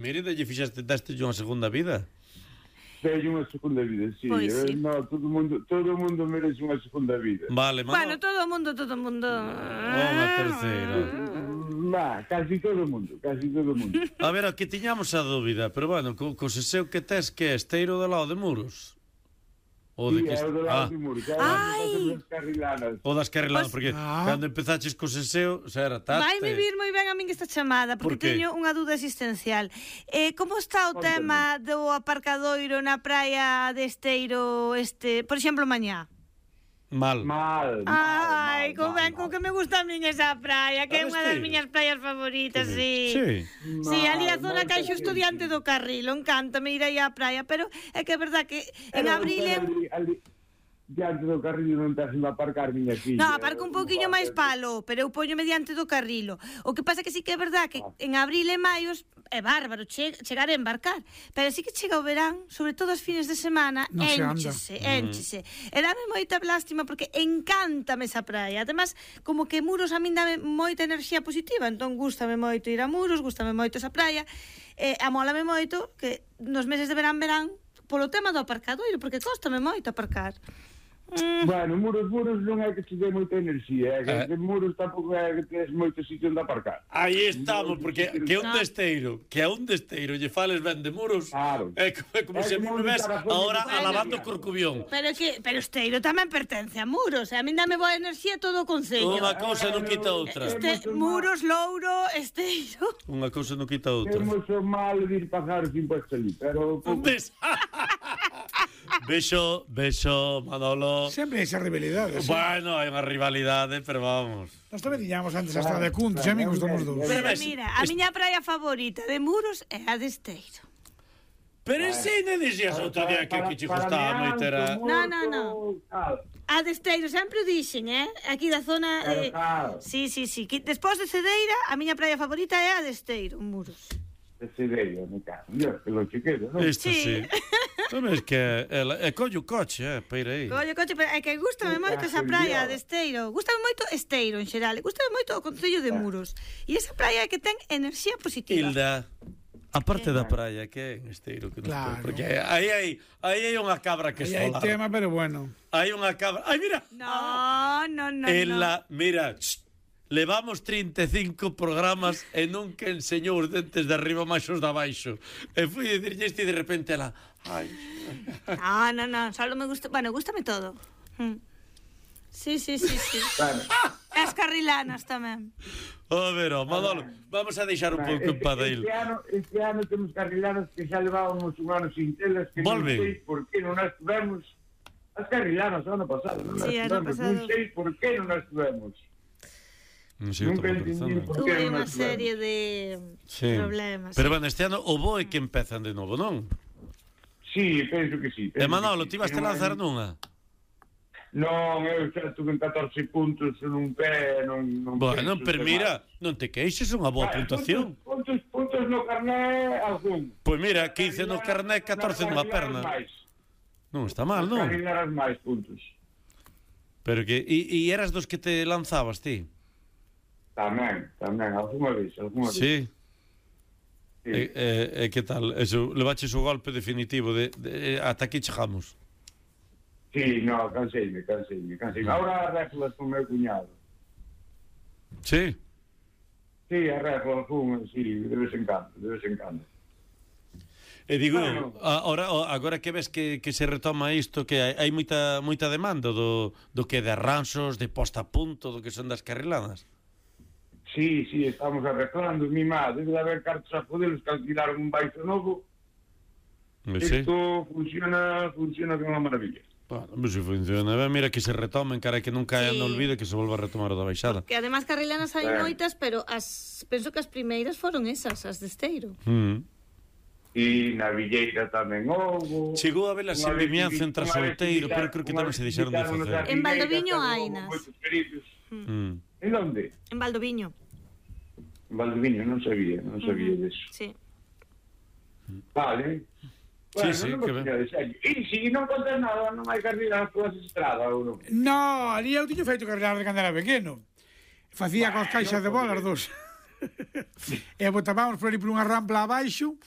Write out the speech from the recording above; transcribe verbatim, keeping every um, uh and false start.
Mira, lle fixaste teste unha segunda vida. Teño unha segunda vida, sí. Pois sí. Eh, no, todo o mundo, todo o mundo merece unha segunda vida. Vale, mano. Bueno, todo o mundo, todo o mundo. Unha terceira. Va, casi todo o mundo, casi todo o mundo. A ver, aquí tiñamos a dúbida, pero bueno, co, co seseo que tes que é esteiro do lado de Muros. O de Sí, que é o do lado ah. de Muros. Ai. Das carrilanas. O das carrilanas, Pues- porque Ah. cando empezaches co seseo, xa era tate. Vai me vir moi ben a min esta chamada, porque Por que? teño unha dúda existencial. Eh, como está o Póntame. tema do aparcadoiro na praia de Esteiro, este, por exemplo, mañá? Mal. Mal, mal, Ai, mal, como ben, mal, co mal. que me gusta a min esa praia, que é A unha das Esteiro? miñas praias favoritas, sí. Sí. Sí, ali a Mal, zona moita que hai xusto xente. diante do carril, encántame ir aí á praia, pero é que é verdad que en Pero, abril é... pero ali, ali, diante do carril non te hacen aparcar, miña filla. No, aparco un pouquiño máis palo, pero eu poño mediante do carrilo. O que pasa que sí que é verdad que en abril e maio é bárbaro che, chegar a embarcar, pero sí que chega o verán, sobre todo os fines de semana, Non se anda. énchese, énchese. E dame moita lástima porque encántame esa praia. Además, como que Muros a min dame moita enerxía positiva, entón gústame moito ir a Muros, gústame moito esa praia, e amólame moito que nos meses de verán verán polo tema do aparcadoiro, porque cóstame moito aparcar. Mm. Bueno, muros, muros non é que te dé moita enerxía, é que, Eh. que muros tampouco é que tes moito sitio onde aparcar. Aí estamos, porque que é un No. desteiro, que é un desteiro, lle fales ben de Muros, Claro. é como, é como É se a mí como me ves evitar a zona ahora de- alabando Corcubión. Pero que pero Esteiro tamén pertence a Muros, e a min dame boa enerxía todo o concello. Unha cousa non quita outra. Este, Muros, Louro, Esteiro. Unha cousa non quita outra. Temos o mal de ir pagar os impuestos ali, pero... Ves? Bexo, bexo, Manolo. Sempre hai esa rivalidade. Sí. Bueno, hai unha rivalidade, pero vamos. Nós tamén tiñamos antes a estrada de Cuntos, e amigos dos dous. Pero Pero ves, mira, a es- miña praia favorita de Muros é a de Esteiro. Pero ese non dixías outro día que, que che gustaba moito era... No, no, no. A de Esteiro, sempre o dixen, eh? Aquí da zona... Pero Eh... claro. Sí, sí, sí. Que despois de Cedeira, a miña praia favorita é a de Esteiro, Muros. Ese ideia, me cago. Dios, que lo chiquedo, non? Isto Sí. sí. Non ves que ela, é collo o coche, eh, para ir aí. Collo, coche, pero é que gustame moito esa praia de Esteiro. Gustame moito Esteiro en xeral. Gustame moito o concello de Muros. E esa praia é que ten enerxía positiva. Hilda, a parte da praia, que é en Esteiro que nos Claro. pon, porque aí hai aí hai unha cabra que Aí hai esfolar. tema, pero bueno. Hai unha cabra. Ai, mira. No, no, no, Ela, mira, ch, levamos trinta e cinco programas e nunca enseñou os dentes de arriba máis os de abaixo. E fui a dicirlle isto e de repente ela, ai. no. No, no, no, solo me gusta, bueno, gústame todo. Mm. Sí, sí, sí, sí. Claro. As carrilanas tamén. A ver, oh, Manolo, vamos a deixar un pouco en Este, Padeil. este, ano, este ano temos carrilanas que xa levábamos un ano sin telas que Volven. non sei por que non as tivemos. As carrilanas o ano pasado, non as Sí, ano tivemos. pasado. Non sei por que non as tivemos. Non sei, Nunca eu entendí pensando. por Tuve que non unha as serie tivemos. de Sí. problemas. Pero sí. bueno, este ano o bo é que empezan de novo, non? Sí, penso que sí. E penso Manolo, que ti sí. vas a Non hai- lanzar nunha? Non, eu xa tuve catorce puntos nun pé, non... non Bueno, penso pero ter mira, máis. non te queixes, unha boa Ah, puntuación. Puntos, puntos, puntos no carné, algún. Pois mira, quince no carné, catorce nunha perna. Non está mal, non? Carrilaras máis puntos. Pero que e, e eras dos que te lanzabas ti? Tamén, tamén, algunha vez, algunha vez. Sí. Sí. E, e, e que tal? Eso, levaches o golpe definitivo de, de ata aquí chegamos. Sí, no, canseime, canseime, canseime. Ahora arreglas con o meu cuñado. Sí. Sí, arreglas con, sí, de vez en cando, de vez en cando. E digo, Bueno. agora, agora que ves que, que se retoma isto, que hai, hai moita moita demanda do, do que de arranxos, de posta a punto, do que son das carriladas. Sí, sí, estamos arreglando, mi má, debe de haber cartos a poderos que alquilaron un baixo novo. Sí. Isto funciona, funciona como unha maravilla. Bueno, pues si funciona ben, mira que se retomen, cara que nunca Sí. sí. no olvide que se volva a retomar o da baixada. Que además carrilanas hai Eh. moitas, pero as penso que as primeiras foron esas, as de Esteiro. Mm. E na Villeira tamén houve. Chegou a ver a Unha vez Vimianza entre unha vez Solteiro, invitaron- pero creo que unha tamén vez se deixaron de invitaron facer. a En Villeira, Valdoviño tamén hai houve nas. moitos feridos. Mm. En onde? En Valdoviño. En Valdoviño, non sabía, non sabía Ujú. deso. Sí. Vale. Bueno, sí, non que me ben. de serio. E se non contas nada, non hai carrera nas túas estradas, ou non? No, ali eu tiño feito carregar de cando era pequeno. Facía Bah, cos caixas non de bolas pode dos. E botábamos por ali por unha rampla abaixo